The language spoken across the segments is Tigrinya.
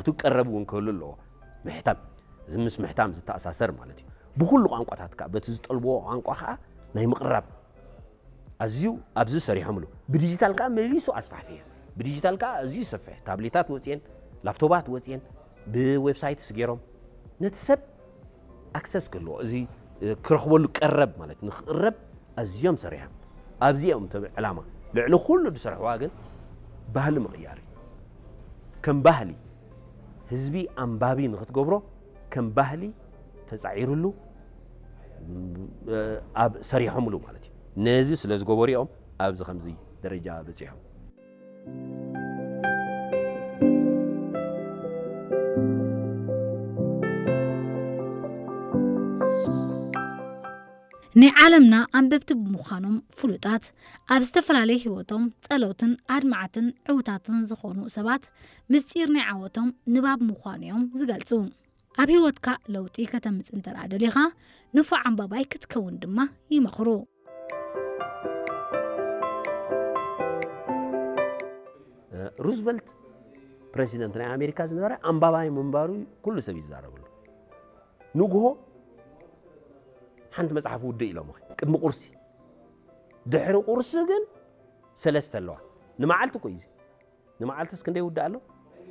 ትቀረብ እውን ክህሉ ኣለዎ። ምሕታም፣ እዚ ምስ ምሕታም ዝተኣሳሰር ማለት እዩ። ብኹሉ ቋንቋታት ከዓ በቲ ዝጠልብዎ ቋንቋ ከዓ ናይ ምቕራብ ኣዝዩ ኣብዚ ሰሪሖምሉ። ብዲጂታል ከዓ መሊሱ ኣስፋሕፊሑ። ብዲጂታል ከዓ ኣዝዩ ይሰፍሕ። ታብሌታት ወፅየን፣ ላፕቶባት ወፅየን፣ ብዌብሳይትስ ገይሮም ነቲ ሰብ ኣክሰስ ክህልዎ፣ እዚ ክረኽበሉ ቀረብ ማለት ንክቕረብ ኣዝዮም ሰሪሖም። ኣብዚኦም ተ ዕላማ ልዕሊ ኩሉ ዝሰርሕዋ ግን ባህሊ ምቕያር እዩ። ከም ባህሊ ህዝቢ ኣንባቢ ንክትገብሮ ከም ባህሊ ተፃዒሩሉ ኣብ ሰሪሖምሉ ማለት እዩ። ነዚ ስለ ዝገበሩ እዮም ኣብዚ ከምዚ ደረጃ በፂሖም። ናይ ዓለምና ኣንበብቲ ብምዃኖም ፍሉጣት፣ ኣብ ዝተፈላለየ ህይወቶም ጸለውትን ኣድማዕትን ዕውታትን ዝኾኑ ሰባት ምስጢር ናይ ዓወቶም ንባብ ምዃኑ እዮም ዝገልጹ። ኣብ ህይወትካ ለውጢ ከተምጽእ እንተ ደኣ ደሊኻ ንፉዕ ኣንባባይ ክትከውን ድማ ይመኽሩ። ሩዝቨልት ፕሬዚደንት ናይ ኣሜሪካ ዝነበረ ኣንባባይ ምንባሩ ኩሉ ሰብ ይዛረብሉ። ንግሆ ሓንቲ መፅሓፍ ውድእ ኢሎም ቅድሚ ቁርሲ፣ ድሕሪ ቁርሲ ግን ሰለስተ ኣለዋ። ንመዓልቲ እኮ እዩ። ንመዓልትስ ክንደይ ውድእ ኣሎ?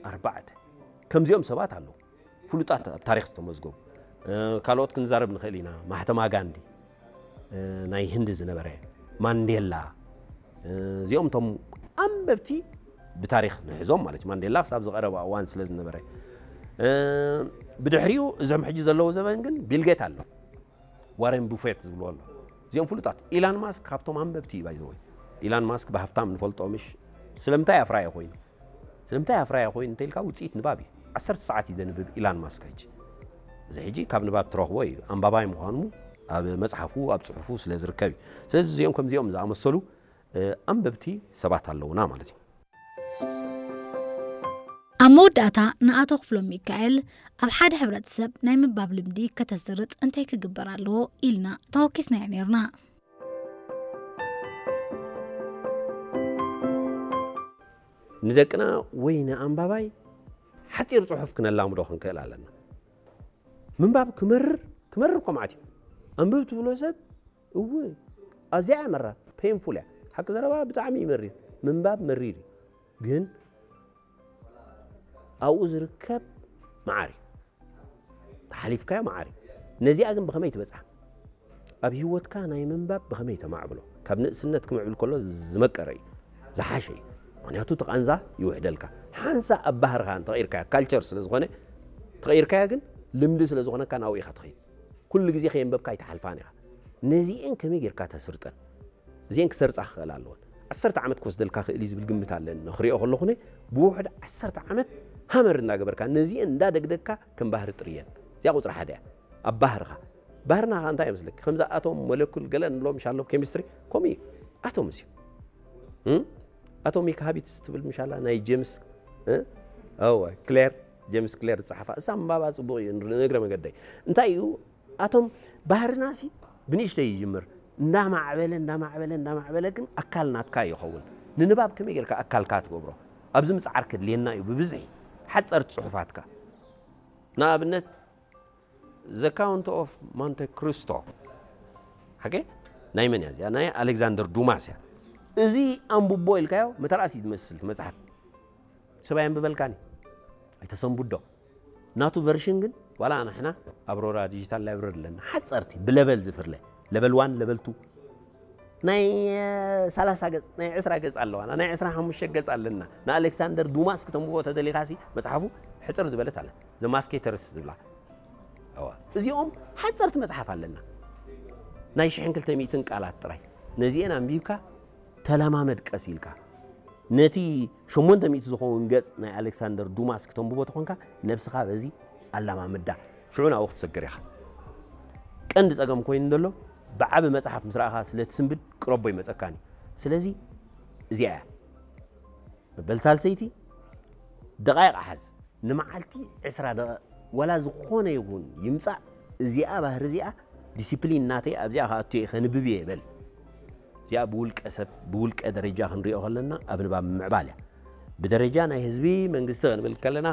ኣርባዕተ። ከምዚኦም ሰባት ኣለዉ፣ ፍሉጣት ኣብ ታሪክ ዝተመዝገቡ። ካልኦት ክንዛረብ ንኽእል ኢና። ማህተማ ጋንዲ ናይ ህንዲ ዝነበረ፣ ማንዴላ፣ እዚኦም ቶም ኣንበብቲ ብታሪክ ንሕዞም ማለት እዩ። ማንዴላ ክሳብ ዝቐረበ እዋን ስለ ዝነበረ፣ ብድሕሪኡ እዞም ሕጂ ዘለዉ ዘበን ግን ቢልጌት ኣሎ፣ ዋረን ቡፌት ዝብልዎ ኣሎ። እዚኦም ፍሉጣት። ኢላን ማስክ ካብቶም ኣንበብቲ እዩ ባይዘወይ። ኢላን ማስክ ብሃፍታም ንፈልጦ ምሽ? ስለምንታይ ኣፍራየ ኮይኑ? ስለምንታይ ኣፍራየ ኮይኑ እንተኢልካ ውፅኢት ንባብ እዩ። ዓሰርተ ሰዓት እዩ ዘንብብ ኢላን ማስክ ሕጂ። እዚ ሕጂ ካብ ንባብ ትረኽቦ እዩ። ኣንባባይ ምዃኑ ኣብ መፅሓፉ ኣብ ፅሑፉ ስለ ዝርከብ እዩ። ስለዚ እዚኦም ከምዚኦም ዝኣመሰሉ ኣንበብቲ ሰባት ኣለውና ማለት እዩ። ኣብ መወዳእታ ንኣቶ ክፍሎም ሚካኤል ኣብ ሓደ ሕብረተሰብ ናይ ምንባብ ልምዲ ከተስርጽ እንታይ ክግበር ኣለዎ ኢልና ተወኪስናዮ ነርና። ንደቅና ወይ ንኣንባባይ ሓፂር ፅሑፍ ክነላምዶ ክንክእል ኣለና። ምንባብ ክመርር ክመርር እኮ መዓት እዩ። ኣንብብ ትብሎ ሰብ እው ኣዚያ እያ መራር፣ ፔንፉል እያ። ሓቂ ዘረባ ብጣዕሚ እዩ መሪር። ምንባብ መሪር እዩ፣ ግን ኣብኡ ዝርከብ መዓር እዩ። ተሓሊፍካዮ መዓር እዩ። ነዚኣ ግን ብኸመይ ትበፅሓ? ኣብ ህይወትካ ናይ ምንባብ ብኸመይ ተማዕብሎ? ካብ ንእስነት ክምዕብል ከሎ ዝመቀረ እዩ፣ ዝሓሸ እዩ። ምክንያቱ እቲ ቃንዛ ይውሕደልካ። ሓንሳ ኣብ ባህርኻ እንተቐይርካያ፣ ካልቸር ስለ ዝኾነ ተቐይርካያ፣ ግን ልምዲ ስለ ዝኾነካ ናብኡ ኢኻ ትኸይድ። ኩሉ ግዜ ከየንበብካ ኣይትሓልፋን ኢኻ። ነዚኤን ከመይ ጌርካ ተስርጠን? እዚኤን ክሰርጻ ክኽእል ኣለወን። ዓሰርተ ዓመት ክወስደልካ ክእል እዩ ዝብል ግምት ኣለኒ። ክሪኦ ከለኹ ብውሕድ ዓሰርተ ዓመት ሃመር እንዳገበርካ ነዚኤን እንዳደግደግካ ከም ባህሪ ጥርየን። እዚኣ ቁፅሪ ሓደ እያ። ኣብ ባህርኻ። ባህርና ከ እንታይ ይመስለኪ? ከምዛ ኣቶም ሞለኩል ገለ ንብሎም ሻሎ ኬሚስትሪ ከምኡ እዩ። ኣቶምስ እዩ። እም? ኣቶሚክ ሃቢትስ ትብል ምሻላ ናይ ጄምስ፣ እ? እወ፣ ክሌር፣ ጄምስ ክሌር ዝጸሓፋ። እሳ ምንባባ ጽቡቕ እዩ፣ ንእግረ መገደይ። እንታይ እዩ? ኣቶም ባህርናሲ ብንእሽተይ ይጅምር። እንዳማዕበለ፣ እንዳማዕበለ፣ እንዳማዕበለ ግን ኣካል ናትካ ይኸውን። ንንባብ ከመይ ጌርካ ኣካልካ ትገብሮ? ኣብዚ ምጽዓር ከድልየና እዩ ብብዝሒ። ሓጸርቲ ጽሑፋትካ። ንኣብነት፣ The Count of Monte Cristo። ሓቂ? ናይ መን እያ እዚኣ? ናይ ኣሌክዛንደር ዱማስ እያ። እዚ ኣንብቦ ኢልካዮ መተርኣስ እዩ ዝመስል እቲ መጽሓፍ። ሰብ ኣየንብበልካን እዩ። ኣይተሰንብዶ። ናቱ ቨርሽን ግን ዋላ ንሕና ኣብ ሮራ ዲጂታል ላይብረሪ ኣለና። ሓጸርቲ ብለቨል ዝፍርለ። ለቨል ዋን፣ ለቨል ቱ። ናይ እ፣ ሰላሳ ገጽ፣ ናይ ዕስራ ገጽ ኣለዋና። ናይ ዕስራ ሓሙሽተ ገጽ ኣለና። ንኣሌክሳንደር ዱማስ ክተንብቦ ተደሊኻሲ መጽሓፉ ሕጽር ዝበለት ኣለ። ዘ ማስኬተርስ ዝብላ። እዋ። እዚኦም ሓጸርቲ መጽሓፍ ኣለና። ናይ ሽሕን ክልተ ሚእትን ቃላት ጥራይ። ነዚኤን ኣንቢብካ ተለማመድ ቀስ ኢልካ። ነቲ ሸሞንተ ሚእቲ ዝኸውን ገጽ ናይ ኣሌክሳንደር ዱማስ ክተንብቦ ተኾንካ ነብስኻ በዚ ኣለማምዳ። ሽዑ ናብኡ ክትሰግር ኢኻ። ቀንዲ ጸገም ኮይኑ ዘሎ ብዓቢ መጽሓፍ ምስ ረኣኻ ስለ ትስንብድ ቅረቦ ይመጸካን እዩ። ስለዚ እዚኣ እያ። መበል ሳልሰይቲ ደቓይቕ ሓዝ። ንመዓልቲ ዕስራ ደቓ-፣ ዋላ ዝኾነ ይኹን ይምጻእ፣ እዚኣ ባህሪ እዚኣ ዲሲፕሊን ናተይ ኣብዚኣ ክኣቱ እየ፣ ከንብብ እየ በል። እዚኣ ብውልቀ ሰብ፣ ብውልቀ ደረጃ ክንሪኦ ከለና ኣብ ንባብ ምምዕባል እያ። ብደረጃ ናይ ህዝቢ መንግስቲ ክንብል ከለና